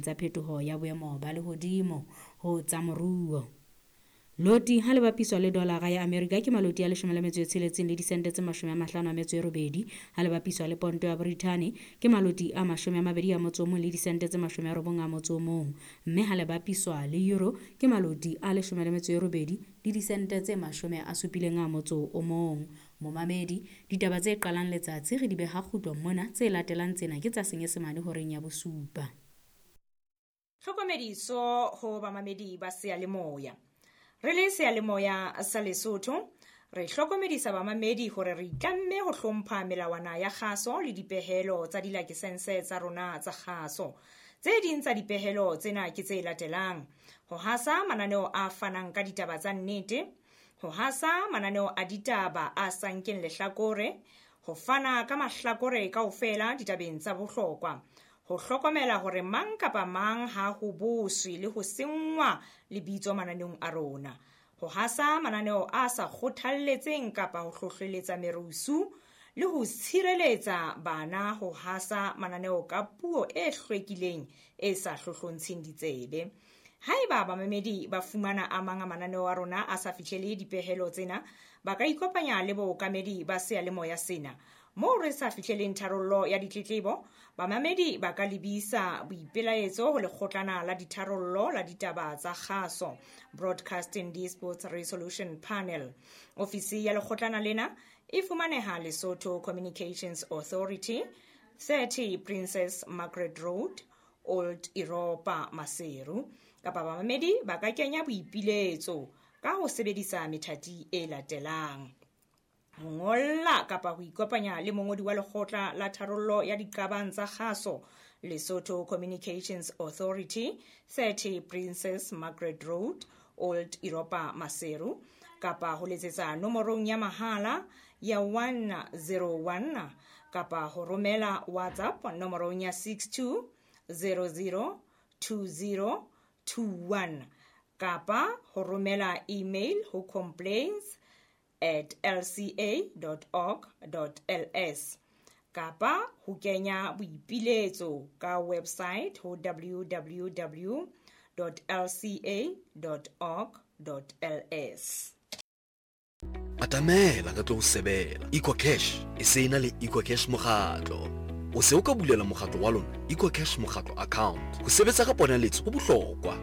Tsa phetoho ya boemo ba lehodimo ho tsa moruo. Loti ha le bapiswa le dolara ya Amerika ke maloti a 16 le disente tse 58, ha le bapiswa le ponto ya Brithani ke maloti a 21 le disente tse 91, mme ha le bapiswa le euro ke maloti a 18 le disente tse 71. Momamedi, ditaba tse qalang letsatsi re di beha kgutlong mona, tse latelang tsena ke tsa Senyesemane horeng ya bosupa. Tlhokomediso ho bamamedi ba seyalemoya. Re le seyalemoya sa Lesotho, re hlokomedisa bamamedi hore re itlamme ho hlompha melawana ya kgaso le dipehelo tsa dilakesense tsa rona tsa kgaso. Tse ding tsa dipehelo tsena ke tse latelang: ho hasa mananeo a fanang ka ditaba tsa nnete, ho hasa mananeo a ditaba a sa nkeng lehlakore, ho fana ka mahlakore kaofela ditabeng tsa bohlokwa, ho hlokomela hore mang kapa mang ha ho boswe le ho senngwa lebitso mananeong a rona, ho hasa mananeo a sa kgothalletseng kapa ho hlohleletsa merusu, le ho tshireletsa bana ho hasa mananeo ka puo e hlwekileng e sa hlohlontsheng ditsebe. Haeba bamamedi ba fumana a mang a mananeo a rona a sa fihlele dipehelo tsena, ba ka ikopanya le bookamedi ba seyalemoya sena. Moo re sa fihleleng tharollo ya ditletlebo, bamamedi ba ka lebisa boipelaetso ho lekgotlana la ditharollo la ditaba tsa kgaso, Broadcasting Disputes Resolution Panel. Ofisi ya lekgotlana lena e fumaneha Lesotho Communications Authority, 30 Princess Margaret Road, Old Europa, Maseru. Kapa bamamedi ba ka kenya boipiletso ka ho sebedisa methati e latelang: ho ngolla kapa ho ikopanya le mongodi wa lekgotla la tharollo ya diqabang tsa kgaso, Lesotho Communications Authority, 30 Princess Margaret Road, Old Europa, Maseru, kapa ho letsetsa nomorong ya mahala ya 101, kapa ho romela WhatsApp nomorong ya 62 00 20 21, kapa ho romela email ho complaints@lca.org.ls, kapa ho kenya boipiletso ka website ho www.lca.org.ls. Atamela re tlo o sebela. EcoCash e se e na le EcoCash mokgatlo. O se o ka bulela mokgatlo wa lona EcoCash mokgatlo account. Ho sebetsa ka ponaletso ho bohlokwa.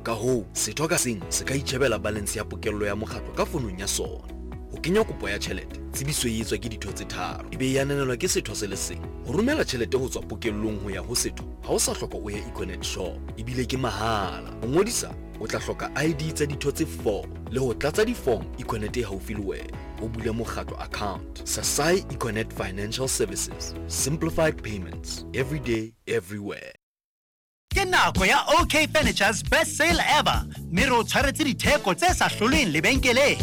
Ka hoo, setho ka seng se ka itjhebela balance ya pokello ya mokgatlo ka fonong ya sona. Ho kenya kopo ya tjhelete, tsebiso e etswa ke ditho tse tharo, e be e ananelwa ke setho se le seng. Ho romela tjhelete ho tswa pokellong ho ya ho setho, ha o sa hloka o ye Econet shop, ebile ke mahala. Ho ngodisa, o tla hloka ID tsa ditho tse 4 le ho tlatsa di-form Econet e haufi le wena. O bule mokgatlo account. Sasai Econet Financial Services. Simplified payments. Every day, everywhere. Ke nako ya OK Furniture's best sale ever, mme re o tshwaretse ditheko tse sa hlolweng lebenkeleng.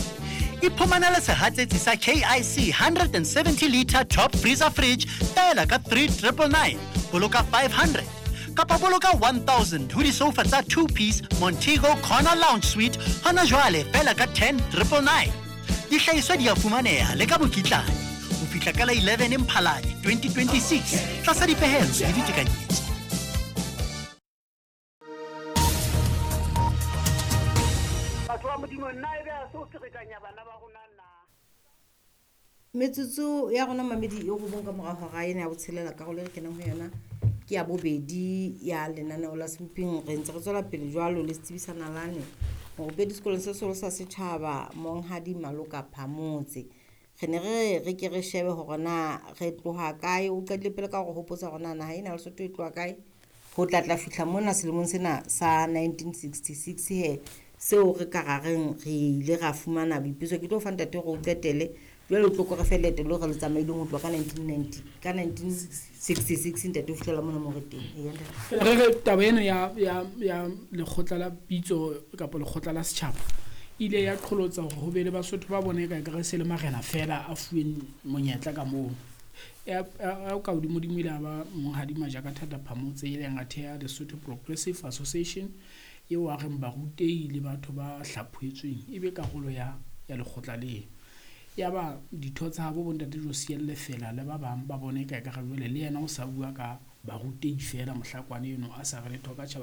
Iphumanele sehatsetsi sa KIC 170 liter top freezer fridge feela ka 3999, boloka 500, kapa boloka 1000 ho disofa tsa 2 piece Montego Corner Lounge Suite hona jwale feela ka 10999. Dihlahiswa di a fumaneha le ka mokitlane ho fihla ka la 11 Mphalane 2026 tlasa dipehelo le ditekanyetso. Batho ba Modimo, nna ebe a se o ferekanya bana ba rona na? Metsotso ya rona mamedi e robong ka mora hora ena ya botshelela, karolo e re kenang ho yona ke ya bobedi ya lenaneo la Semping. Re ntse re tswela pele jwalo le setsebi sa nalane, morupedi sekolong se seholo sa setjhaba, Monghadi Maloka Phamotse. Re ne re re ke re shebe hore na re tloha kae. O qadile pele ka hore hopotsa hore na naha ena ya Lesotho e tloha kae ho tla tla fihla mona selemong sena sa 1966, he seo re ka ra reng re ile ra fumana boipuso. Ke tlo fa ntate hore o qetele jwale, o tlo ko re fe leeto leo re le tsamaileng ho tloha ka 1990, ka 1966 ntate, ho fihlela mona mo re teng. Eya, ntate. Re re taba ena ya lekgotla la pitso kapa lekgotla la setjhaba ile ya qholotsa hore ho be le Basotho ba bone ka ekare se le marena fela a fuweng monyetla ka moo. Ya ka hodimodimo ile a ba Monghadi Majaka Thata Phamotse, e leng a theha Lesotho Progressive Association, eo a reng barutehi le batho ba hlaphohetsweng e be karolo ya lekgotla leo. Ya ba ditho tsa habo bontate Josia Lefela le ba bang ba bone ka ekare jwale le yena o sa bua ka barutehi fela, mohlakwane eno a sa re letho ka tjhaba.